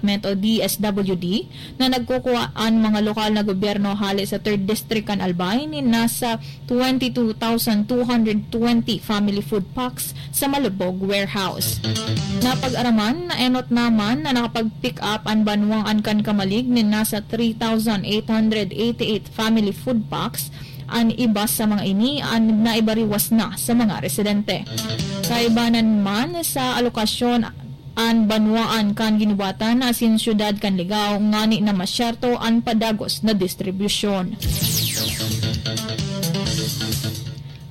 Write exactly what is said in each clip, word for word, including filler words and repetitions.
Development o D S W D na nagkukuha an mga lokal na gobyerno hale sa Third District kan Albay nin nasa twenty two thousand two hundred twenty family food packs sa Malabog warehouse. Napag-araman na enot naman na nakapag-pick up an banwaan kan Camalig nin nasa three thousand eight hundred eighty-eight family food packs. An iba sa mga ini an naibariwas na sa mga residente. Kaibanan man sa alokasyon, an banwaan kan ginubatan asin siyudad kan Ligao ngani na masyerto an padagos na distribusyon.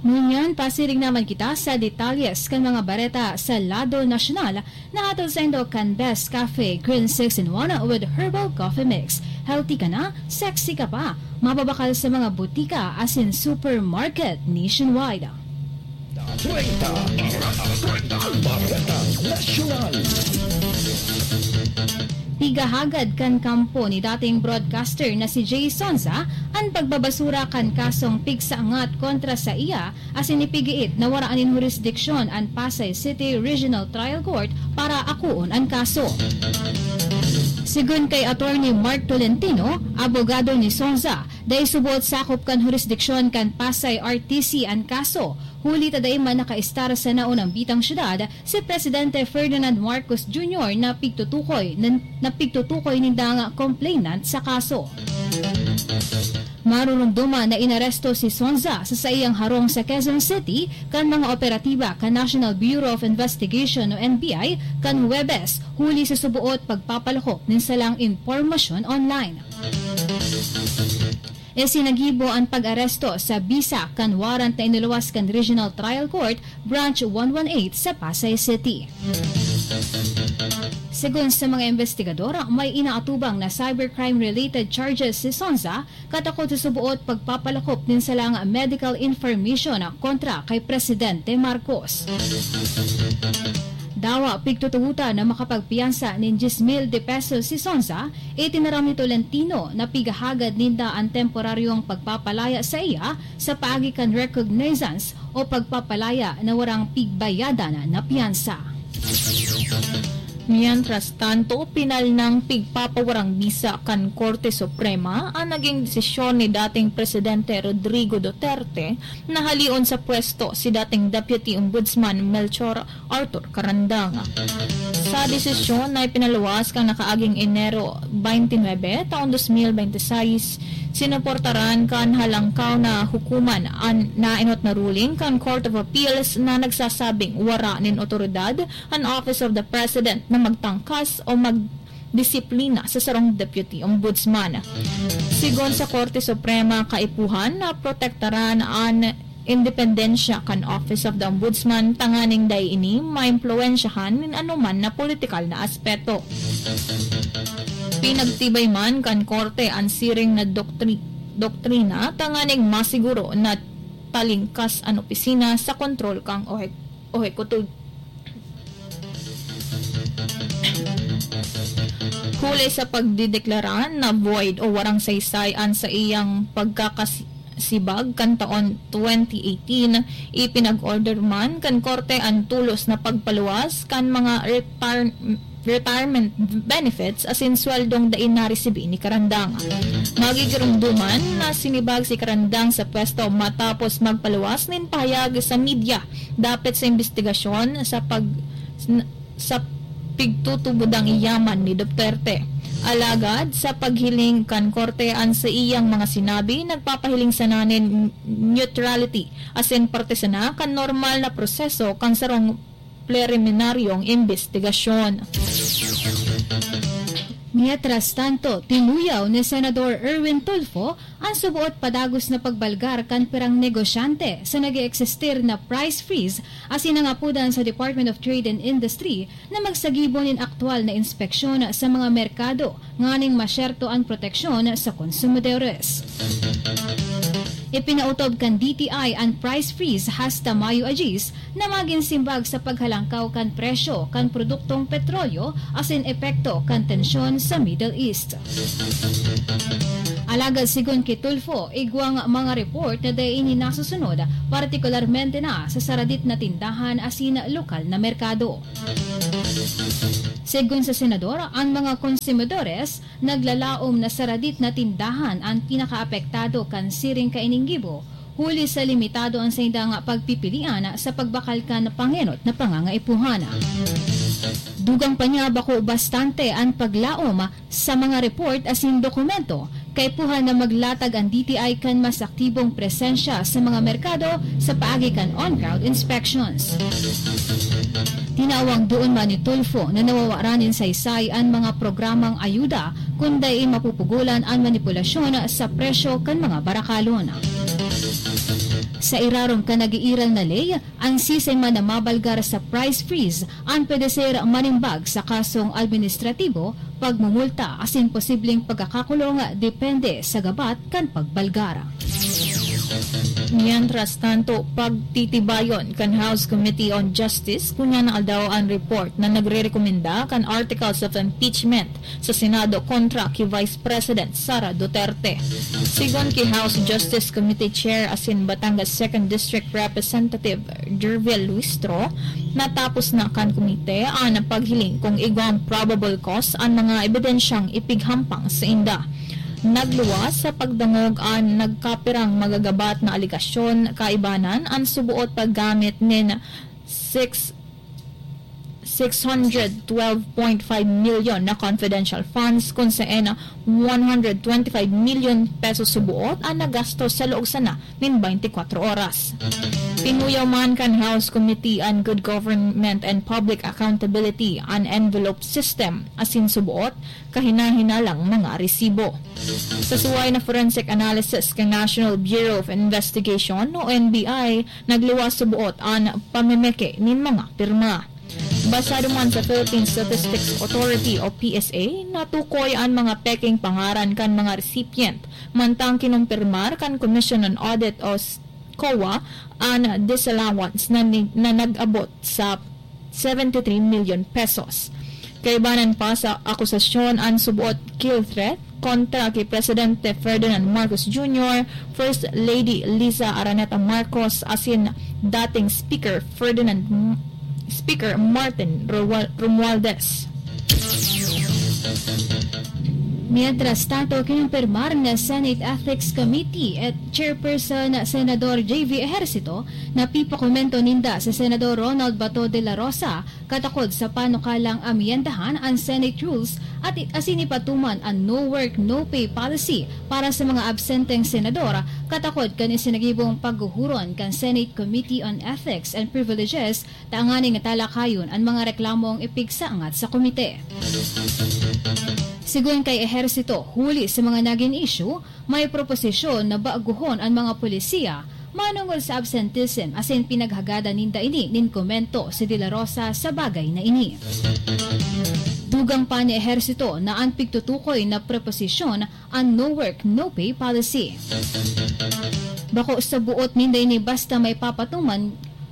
Ngunyan, pasiring naman kita sa detalyes kan mga bareta sa lado nasyonal na hatod saindo kan Best Cafe Green six in one with Herbal Coffee Mix. Healthy ka na, sexy ka pa. Mababakal sa mga butika asin supermarket nationwide. Treinta, treinta, Bareta Nasyonal. Pigahagad kan kampo ni dating broadcaster na si Jay Sonza an pagbabasura kan kasong pigsaangat kontra saiya asin ipigiit na wara nin hurisdiksyon an Pasay City Regional Trial Court para akoon an kaso. Sigon kay Attorney Mark Tolentino, abogado ni Sonza, dai subot sakop kan hurisdiksyon kan Pasay R T C an kaso, huli ta dai man nakaistar sa naunang bitang syudad si Presidente Ferdinand Marcos Junior na pigtutukoy nin, na pigtutukoy nindang complainant sa kaso. Marurumduman na inaresto si Sonza sa saiyang harong sa Quezon City kan mga operatiba kan National Bureau of Investigation o N B I kan Huwebes, huli sa suboot pagpapalakop nin salang impormasyon online. Isinagibo an pag-aresto sa bisa kan warrant na inuluwas kan Regional Trial Court, Branch one one eight sa Pasay City. Segun sa mga investigador, may inaatubang na cybercrime-related charges si Sonza katakod sa suboot pagpapalakop nin salang medical information kontra kay Presidente Marcos. Dawa pigtutugotan na makapagpiyansa nin diyes mil de pesos si Sonza, itinaram ni Tolentino na pigahagad ninda an temporaryong pagpapalaya saiya sa paagi kan recognizance o pagpapalaya na warang pigbayadan na piyansa. Mientras tanto, pinalnang pigpapawarang bisa kan Korte Suprema an naging desisyon ni dating Presidente Rodrigo Duterte na halion sa pwesto si dating Deputy Ombudsman Melchor Arthur Carandang. Sa desisyon na ipinaluwas kan nakaaging Enero twenty-nine, taon dos mil bente seis, sinuportaran kan Halangkaw na Hukuman an naenot na ruling kan Court of Appeals na nagsasabing wara nin otoridad an Office of the President na magtangkas o magdisiplina sa sarong Deputy Ombudsman. Sigon sa Korte Suprema, kaipuhan na protektaran an independensya kan Office of the Ombudsman tanganing dai ini maimpluwensyahan nin anoman na politikal na aspeto. Pinagtibay man kan korte an siring na doktri-, doktrina tanganing masiguro na talingkas an opisina sa kontrol kan ohe-, ohekuto-, huli sa pagdedeklara na void o warang saysay an saiyang pagkakasibag kan taon twenty eighteen, ipinag-order man kan korte an tulos na pagpaluwas kan mga retar-, retirement benefits asin sweldong dai naresibi ni Carandang. Magigiromdoman na sinibag si Carandang sa pwesto matapos magpaluwas nin pahayag sa media dapit sa imbestigasyon sa pag-, sa pigtutubodang yaman ni Duterte. Alagad, sa paghiling kan korte, an saiyang mga sinabi nagpapahiling sana nin neutrality asin parte sana kan normal na proseso kan sarong preliminaryong imbestigasyon. Mientras tanto, tinuyaw ni Senador Erwin Tulfo an suboot padagos na pagbalgar kan pirang negosyante sa nag-eeksistir na price freeze asin nangapodan sa Department of Trade and Industry na magsagibo nin aktual na inspeksyon sa mga merkado nganing masyerto an proteksyon sa konsumidores. Ipinautob kan D T I an price freeze hasta Mayo a diyes na magin simbag sa paghalangkaw kan presyo kan produktong petrolyo asin epekto kan tensyon sa Middle East. Alagad sigon ki Tulfo, igwang mga report na dai ini nasusunod, partikularmente na sa saradit na tindahan asin lokal na merkado. Segun sa senador, an mga konsumidores naglalaom na saradit na tindahan an pinakaapektado kan siring kaining gibo, huli sa limitado an saindang pagpipilian sa pagbakal kan pangenot na pangangaipuhan. Dugang pa niya, bako bastante an paglaom sa mga report asin dokumento, kaipuhan na maglatag an D T I kan mas aktibong presensya sa mga merkado sa paagi kan on-ground inspections. Tinawang duon man ni Tulfo na nawawaran nin saysay an mga programang ayuda kun dai mapupugolan an manipulasyon sa presyo kan mga barakalon. Sa irarom kan nag-iiral na ley, an siisay man na mabalgar sa price freeze an pwede ser manimbag sa kasong administratibo, pagmumulta asin posibleng pagkakakulong depende sa gabat kan pagbalgar. Mientras tanto, pagtitibayon kan House Committee on Justice kunyan na aldaw an report na nagrerekomenda kan articles of impeachment sa Senado kontra ki Vice President Sara Duterte. Sigon ki House Justice Committee Chair asin Batangas Second District Representative Jervil Luistro, natapos na kan komite an paghiling kung igwang probable cause an mga ebidensyang ipighampang sainda. Nagluwas sa pagdangog an nagkapirang magagabat na alegasyon, kaibanan an suboot paggamit nin six, six hundred twelve point five million na confidential funds, kun saen one hundred twenty-five million pesos suboot an nagastos sa laog sana nin twenty-four oras. Pinuyaw man kan House Committee on Good Government and Public Accountability an envelope system asin suboot kahinahinalang mga resibo. Sa suway na forensic analysis kan National Bureau of Investigation o N B I, nagluwas suboot an pamemeke nin mga pirma. Basado man sa Philippine Statistics Authority o P S A, natukoy an mga peking pangaran kan mga recipient, mantang kinumpirmar kan Commission on Audit o s-, COA an disallowance na ni-, na nag-abot sa seventy-three million pesos. Kaibanan pa sa akusasyon an suboot kill threat kontra ki Presidente Ferdinand Marcos Junior, First Lady Liza Araneta Marcos asin dating Speaker Ferdinand M-, Speaker Martin Romual-, Romualdez. Mientras tanto, kinumpirmar na Senate Ethics Committee at Chairperson Senador J V Ejercito na pipakomento ninda si Senador Ronald Bato de la Rosa katakod sa panukalang amyendahan an Senate rules at i-, asin ipatuman an no work, no pay policy para sa mga absenteng senador katakod kan isinagibong paghuhuron kan Senate Committee on Ethics and Privileges tanganing talakayon an mga reklamong ipigsaangat sa komite. Sigon kay Ejercito, huli sa mga nagin issue, may proposisyon na baguhon an mga polisiya manongod sa absenteeism asin pinaghagadan ninda ini nin komento si De La Rosa sa bagay na ini. Dugang pa ni Ejercito na an pigtutukoy na proposisyon an no work, no pay policy. Bako sa buot ninda ini basta may papatuman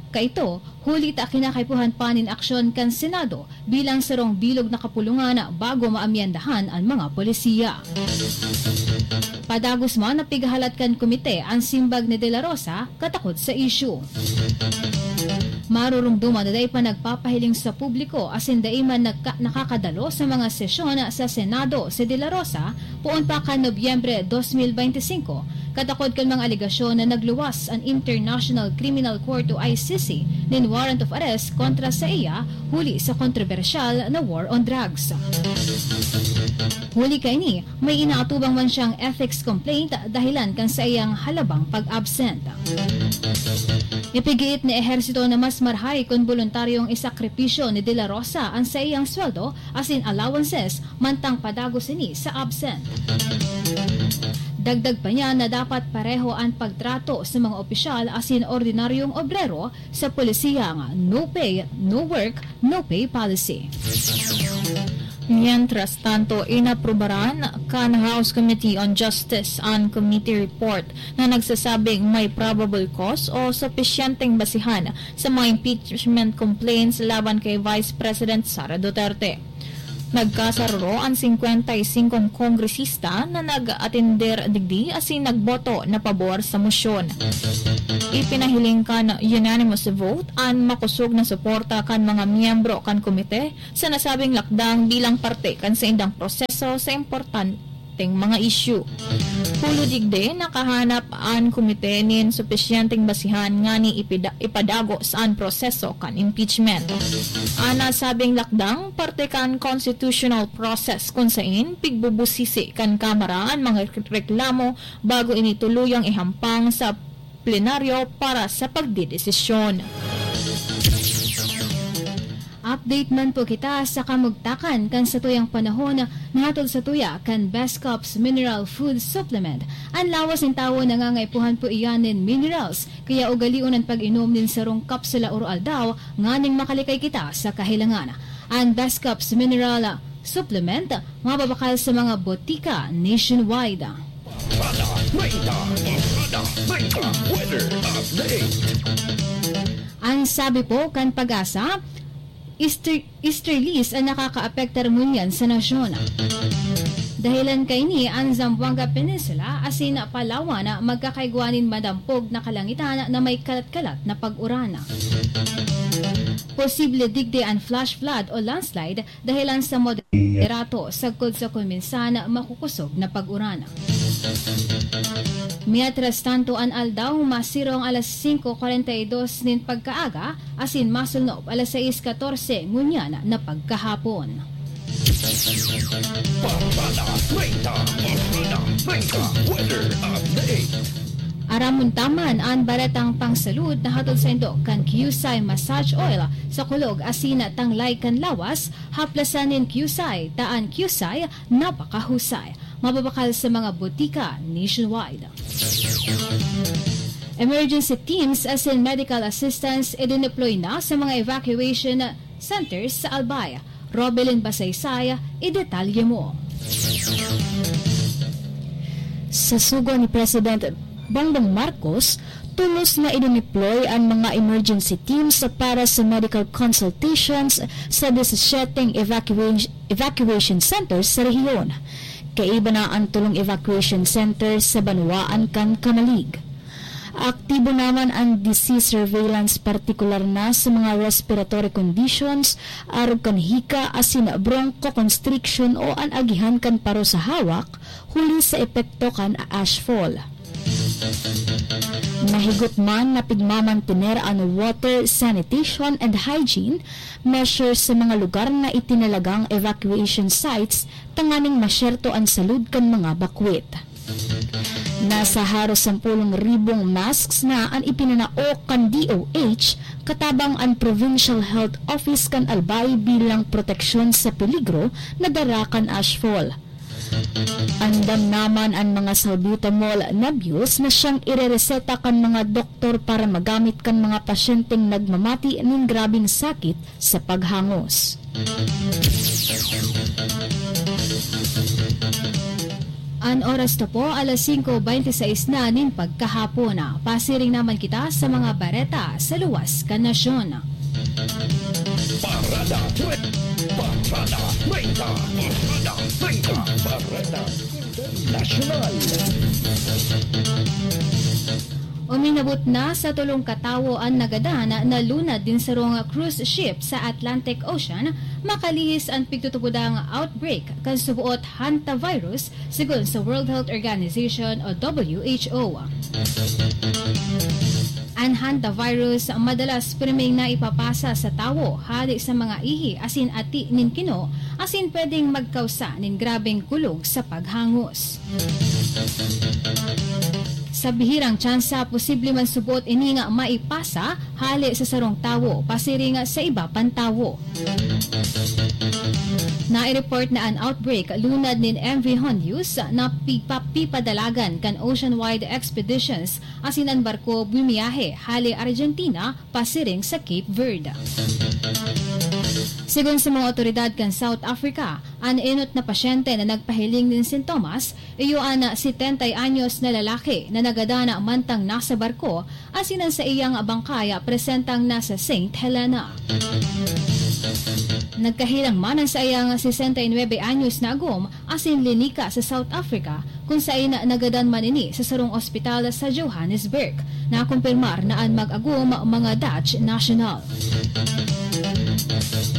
kaito, huli ta kinakaipuhan pa nin aksyon kan Senado bilang sarong bilog na kapulungan bago maamyendahan an mga polisiya. Padagos man na pighahalat kan komite an simbag ni De La Rosa katakod sa isyu. Marurumduman na dai pa nagpapahiling sa publiko asin dai man nagka-, nakakadalo sa mga sesyon sa Senado si De La Rosa poon pa kan Nobyembre dos mil beinti singko, katakod kan mga alegasyon na nagluwas an International Criminal Court o I C C nin warrant of arrest kontra saiya huli sa kontrobersyal na war on drugs. Huli kaini, may inaatubang man siyang ethics complaint dahilan kan saiyang halabang pag-absent. Ipigiit ni Ejercito na mas marhay kun boluntaryong isakripisyo ni De La Rosa an saiyang sweldo asin allowances mantang padagos ini sa absent. Dagdag pa niya na dapat pareho an pagtrato sa mga opisyal asin ordinaryong obrero sa polisiyang no pay, no work, no pay policy. Mientras tanto, inaprubaran kan House Committee on Justice an committee report na nagsasabing may probable cause o supisyenteng basihan sa mga impeachment complaints laban kay Vice President Sara Duterte. Nagkasaruro an singkwenta y singkong kongresista na nag-atender digdi asin nagboto na pabor sa mosyon. Ipinahiling kan unanimous vote an makosog na suporta kan mga miyembro kan komite sa nasabing lakdang bilang parte kan saindang proseso sa importanteng mga isyu. Hulo digdi, nakahanap an komite nin supisyenteng basihan ngani ipida-, ipadagos an proseso kan impeachment. An nasabing lakdang parte kan constitutional process kun sain pigbubusisi kan Kamara an mga reklamo bago ini tuluyang ihampang sa plenaryo para sa pagdedesisyon. Update man po kita sa kamugtakan kan satuyang panahon na hatod satuya kan Best Cups Mineral Food Supplement. An lawas nin tawo nangangaipuhan po iyan nin minerals, kaya ugalion an pag-inom nin sarong kapsula oro-aldaw nganing makalikay kita sa kahilangan. An Best Cups Mineral Supplement mababakal sa mga botika nationwide. Parada treinta, Parada treinta, weather update. Ang sabi po kan Pag-asa, easter-, easterlies ang nakakaapektar ngunyan sa nasyon. Dahilan kaini, ang Zamboanga Peninsula asin Palawan magkakaigwa nin madampog na kalangitan na may kalat-kalat na pag-uran. Posible digdi an flash flood o landslide dahilan sa moderato sagkod sa kuminsan makukusog na pag-uran. Mientras tanto, an aldaw masirong alas singko kwarenta y dos nin pagkaaga asin masulnop alas sais katorse ngunyan na pagkahapon. Parada treinta, Parada treinta, weather update. Aramon ta man an baretang pangsalud na hatod saindo kan Qcye Massage Oil sa Kulog asin Tanglay kan Lawas, haplasan nin Qcye, ta an Qcye napakahusay. Mababakal sa mga botika nationwide. Emergency teams asin medical assistance idineploy na sa mga evacuation centers sa Albay. Robelin Basaysay, idetalye mo. Sa sugo ni President Bongbong Marcos, tolos na idineploy an mga emergency teams para sa medical consultations sa disisiete evacuation, evacuation centers sa rehiyon. Kaiba na an tolong evacuation center sa banwaan kan Camalig. Aktibo naman an disease surveillance, partikular na sa mga respiratory conditions, arog kan hika asin bronchoconstriction o an agihan kan paro sa hawak, huli sa epekto kan ashfall. Mahigot man na pigmamantener an water, sanitation and hygiene measures sa mga lugar na itinalagang evacuation sites tanganing masyerto an salud kan mga bakwit. Nasa haros sampulong ribong masks na an ipinanao kan D O H katabang an Provincial Health Office kan Albay bilang proteksyon sa peligro na dara kan ashfall. Andam naman an mga salbutamol nebules na siyang irereseta kan mga doktor para magamit kan mga pasyenteng nagmamati nin grabeng sakit sa paghangos. An oras ta po, alas singko bente seis na nin pagkahapon. Pasiring naman kita sa mga bareta sa luwas kan nasyon. Parada Tre-, Parada treinta, Parada treinta, Parada Internasyonal. Uminabot na sa tolong katawo an nagadan na lunad nin sarong cruise ship sa Atlantic Ocean makalihis an pigtutubodang outbreak kan suboot hantavirus, sigon sa World Health Organization o W H O. An hantavirus madalas pirming naipapasa sa tawo hali sa mga ihi asin ati nin kino, asin pwedeng magkausa nin grabeng kulog sa paghangos. Sa bihirang tsansa, posible man suboot ini nga maipasa hale sa sarong tawo pasiring sa iba pang tawo. Nai-report na an outbreak lunad nin M V Hondius na pigpapipadalagan kan Ocean Wide Expeditions asin an barko bumiyahe hale Argentina pasiring sa Cape Verde. Sigon sa mga awtoridad kan South Africa, an enot na pasyente na nagpahiling nin sintomas iyo an setenta anyos na lalaki na nagadan mantang nasa barko, asin an saiyang bangkay presentang nasa Saint Helena. Nagkahilang man an saiyang sesenta y nuebe anyos na agom asin linika sa South Africa, kun saen nagadan man ini sa sarong ospital sa Johannesburg. Nakumpirmar na an mag-agom mga Dutch national.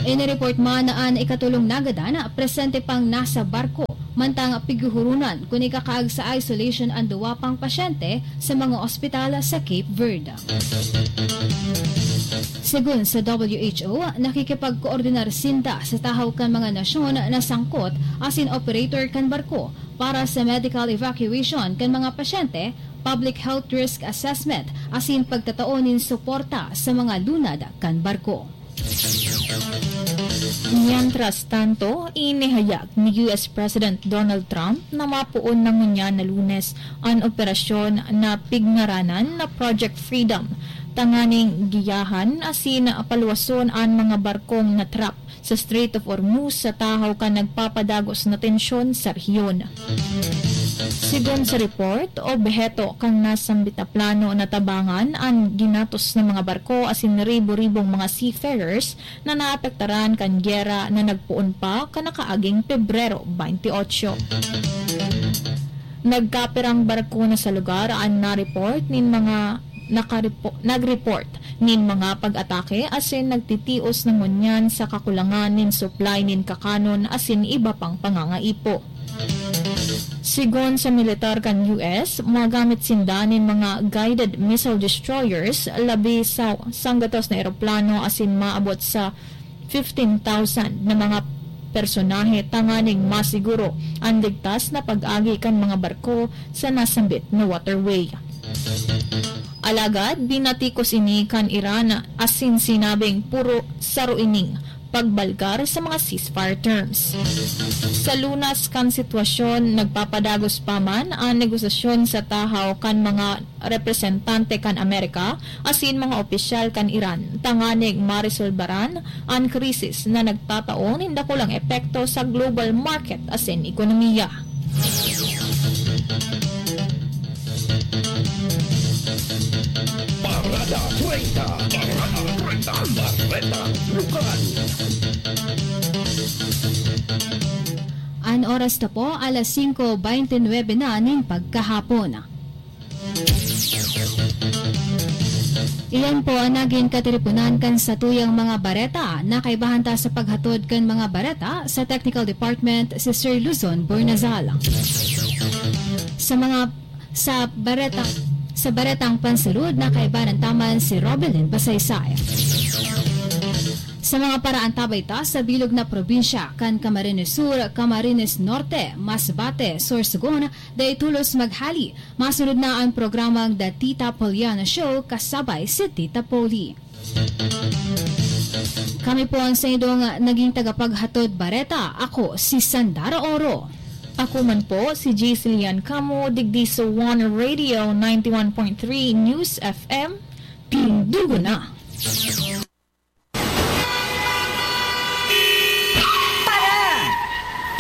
Inireport man na an ikatolong nagadan presente pang nasa barko, mantang pighuhuronan kun ikakaag sa isolation an duwa pang pasyente sa mga ospital sa Cape Verde. Segun sa W H O, nakikipagkoordinar sinda sa tahaw kan mga nasyon na sangkot asin operator kan barko para sa medical evacuation kan mga pasyente, public health risk assessment, asin pagtatao nin suporta sa mga lunad kan barko. Mientras tanto, inihayag ni U S President Donald Trump na mapoon na ngunyan na Lunes an operasyon na pigngaranan na Project Freedom, tanganing giyahan asin paluwason an mga barkong na-trap sa Strait of Hormuz sa tahaw kan nagpapadagos na tensyon sa rehiyon. Sigon sa report, obheto kan nasambit na plano na tabangan an ginatos na mga barko asin ribo-ribong mga seafarers na naapektaran kan giyera na nagpoon pa kan nakaaging Pebrero twenty-eight. Nagkapirang barko na sa lugar an na-report nin mga nakaripo-, nag-report nin mga pag-atake asin nagtitios na ngunyan sa kakulangan nin supply nin kakanon asin iba pang pangangaipo. Sigon sa militar kan U S, magamit sinda nin mga guided missile destroyers, labi sa sanggatos na eroplano asin maabot sa fifteen thousand na mga personahe tanganing masiguro an ligtas na pag-agi kan mga barko sa nasambit na waterway. Alagad binatikos ini kan Iran asin sinabing puro saro ining pagbalgar sa mga ceasefire terms. Sa lunas kan sitwasyon, nagpapadagos pa man an negosasyon sa tahaw kan mga representante kan Amerika asin mga opisyal kan Iran tanganing maresolbaran an krisis na nagtatao nin dakulang epekto sa global market asin ekonomiya. Parada treinta. Parada treinta. Bareta Lokal. An oras na po, alas singko beintinuebe na nin pagkahapon. Iyan po an nagin katiriponan kan satuyang mga bareta. Nakaibahan ta sa paghatod kan mga bareta sa Technical Department, si Sir Luzon Burnazal. Sa mga, sa bareta, sa baretang pansulod, nakaibahan taman si Robelin Basaysay. Sa mga paraantabay ta sa bilog na probinsya, kan Camarines Sur, Camarines Norte, Masbate, Sorsogon, dai tolos maghali. Masunod na an programang The Tita Poliana Show kasabay si Tita Poli. Kami po ang saindong naging tagapaghatod bareta. Ako si Sandara Oro. Ako man po si Giselian Camo, digdi sa One Radio ninety-one point three News F M. Tindugo na!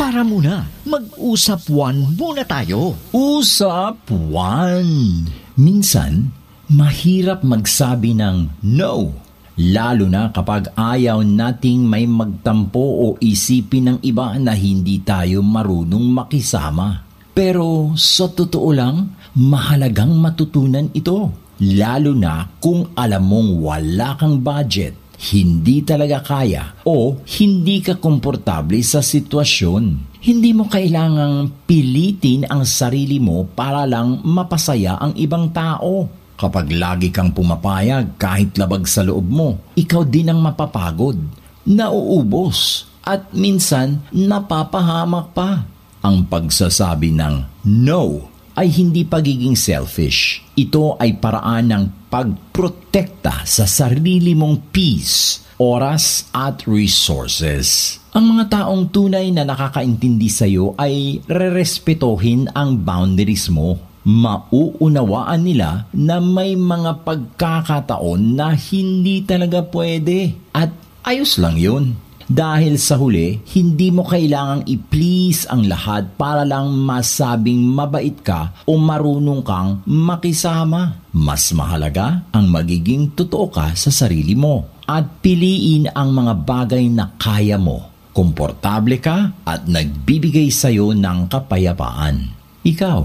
Para muna, mag-usap one muna tayo. Usap one. Minsan, mahirap magsabi ng no, lalo na kapag ayaw nating may magtampo o isipin ng iba na hindi tayo marunong makisama. Pero sa totoo lang, mahalagang matutunan ito, lalo na kung alam mong wala kang budget, hindi talaga kaya, o hindi ka komportable sa sitwasyon. Hindi mo kailangang pilitin ang sarili mo para lang mapasaya ang ibang tao. Kapag lagi kang pumapayag kahit labag sa loob mo, ikaw din ang mapapagod, nauubos, at minsan napapahamak pa. Ang pagsasabi ng no ay hindi pagiging selfish. Ito ay paraan ng pagprotekta sa sarili mong peace, oras, at resources. Ang mga taong tunay na nakakaintindi sa'yo ay rerespetohin ang boundaries mo. Mauunawaan nila na may mga pagkakataon na hindi talaga pwede, at ayos lang yun. Dahil sa huli, hindi mo kailangang i-please ang lahat para lang masabing mabait ka o marunong kang makisama. Mas mahalaga ang magiging totoo ka sa sarili mo. at piliin ang mga bagay na kaya mo, komportable ka at nagbibigay sayo ng kapayapaan. Ikaw,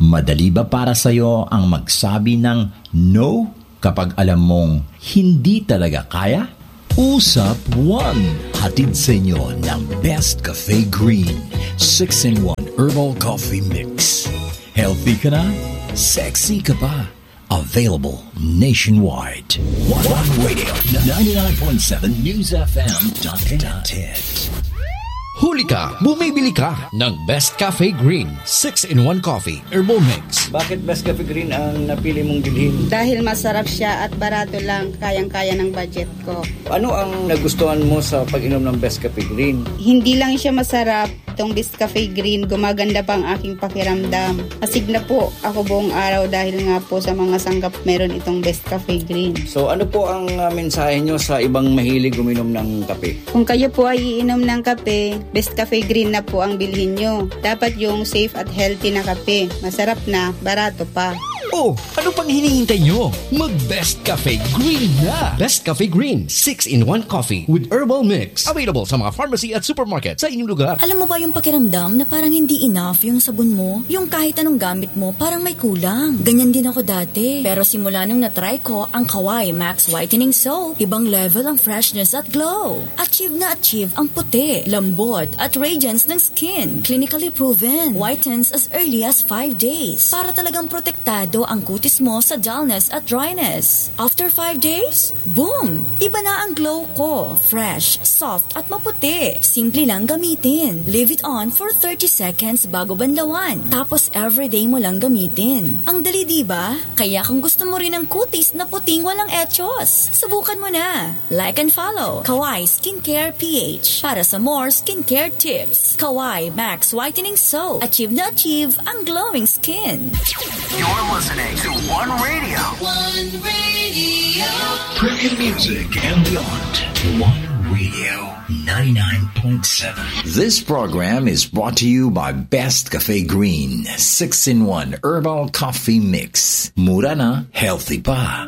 madali ba para sayo ang magsabi ng no kapag alam mong hindi talaga kaya? Usap One, hatid sa inyo ng Best Cafe Green six-in-one Herbal Coffee Mix. Healthy ka na, sexy ka pa. Available nationwide. One Radio, ninety-nine point seven News F M dot T T. Huli ka, bumibili ka ng Best Cafe Green six-in-one Coffee Herbal Mix. Bakit Best Cafe Green ang napili mong bilhin? Dahil masarap siya at barato lang, kayang-kaya ng budget ko. Ano ang nagustuhan mo sa pag-inom ng Best Cafe Green? Hindi lang siya masarap, itong Best Cafe Green, gumaganda pa ang aking pakiramdam. Asig na po ako buong araw dahil nga po sa mga sangkap meron itong Best Cafe Green. So ano po ang uh, mensahe nyo sa ibang mahilig uminom ng kape? Kung kayo po ay iinom ng kape, Best Cafe Green na po ang bilhin nyo. Dapat yung safe at healthy na kape. Masarap na, barato pa. Oh, ano pang hinihintay nyo? Mag Best Cafe Green na! Best Cafe Green six-in-one Coffee with Herbal Mix. Available sa mga pharmacy at supermarket sa inyong lugar. Alam mo ba yung pakiramdam na parang hindi enough yung sabon mo? Yung kahit anong gamit mo, parang may kulang. Ganyan din ako dati. Pero simula nung na-try ko ang Kawai Max Whitening Soap, ibang level ang freshness at glow. Achieve na achieve ang puti, lambot, at radiance ng skin. Clinically proven. Whitens as early as five days. Para talagang protektado ang kutis mo sa dullness at dryness. After five days, boom! Iba na ang glow ko. Fresh, soft, at maputi. Simple lang gamitin. Leave it on for thirty seconds bago banlawan. Tapos everyday mo lang gamitin. Ang dali, di ba? Kaya kung gusto mo rin ang kutis na puting walang echos, subukan mo na. Like and follow Kawai Skincare P H para sa more skincare tips. Kawai Max Whitening Soap. Achieve na achieve ang glowing skin. You're listening to One Radio. One Radio. Premium music and beyond. One Radio ninety-nine point seven. This program is brought to you by Best Cafe Green six-in-one Herbal Coffee Mix. Mura na, healthy pa.